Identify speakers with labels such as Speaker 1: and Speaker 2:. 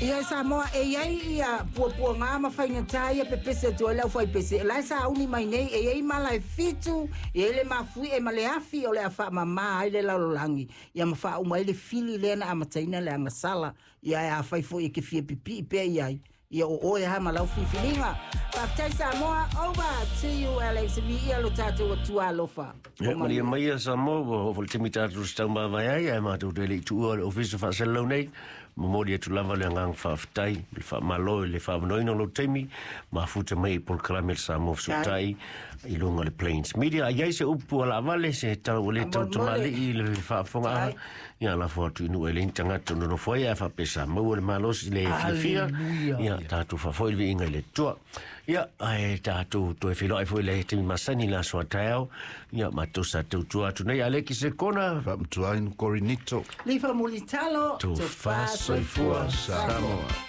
Speaker 1: Ia Samoa e i ai ia puapuaga ma faigata ia pepese atu ai le aufaipese, o la e sauni mai nei, e i ai mala e fitu, e i ai le mafuie ma le afi o le a faamama ai le lalolagi, ia ma faauma ai le fili lea na amataina le agasala, ia e afai foi e ke fia pipii pea i ai, ia o oe lava ma lau filifiliga. Faafetai Samoa, over to you Alex, viia lo tatou Atua alofa.
Speaker 2: Ia, malie mai ia Samoa, ua oo foi le taimi tatou se taumavae ai, ae matou te le i tuua le ofisa faasalalau nei, momoli atu lava le agaga faafetai, le faamalo i le faavanoaina o lou taimi, mafuta mai i polokalame le Samoa Fesootai i luga o le Plains Media. A i ai se upu a laavale, se tau ua le tau tamalii i le faafofogaaga, ia lafo atu i nuu e leai ni tagata o nonofo ai, ae faapea sa maua le malosi le fiafia, ia tatou faafoi le viiga i le Atua. Ia, ae tatou toe feiloai foi i le taimi masani i le aso a taeao, ia matou sa tautua atu nei Aleki Sekona,
Speaker 3: Faamatuaina Korinito.
Speaker 1: Lifa Mulitalo,
Speaker 2: Tofa Soifua
Speaker 3: Samoa.